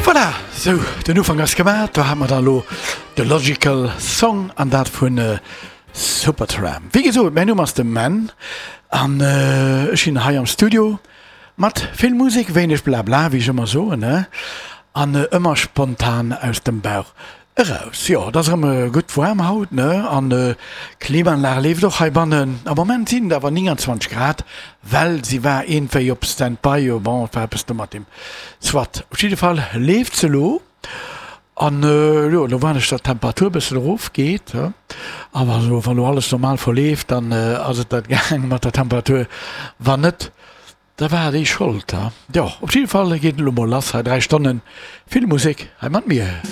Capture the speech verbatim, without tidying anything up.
Voilà, sou, den Ufank ass gemaach. Do hate mer da lo de Logical Song an dat vun Supertramp. Wéi gesot, mäin Numm ass de Menn an ech sinn hei am Studio mat vill Musek, wéineg Blabla, wéi ech ëmmer soen, ne? An ëmmer spontan aus dem Bauch eraus. Jo, et ass erëm gutt waarm haut, ne? An d'Klimaanlag leeft och heibannen. Am Moment sinn et awer neunundzwanzeg Grad, well si war iergendwéi op Standby. Jo, bon, et war eppes do mat dem Soit. Op jidde Fall leeft se elo. An jo, elo waarden ech, datt d'Temperatur e bëssen erofgeet. Awer elo, wann elo alles normal verleeft, dann ass et dat gaang mat der Temperatur. Wann net, da war déi Schold. Jo, op jidde Fall geet et elo mol lass hei, dräi Stonnen vill Musek hei mat mir.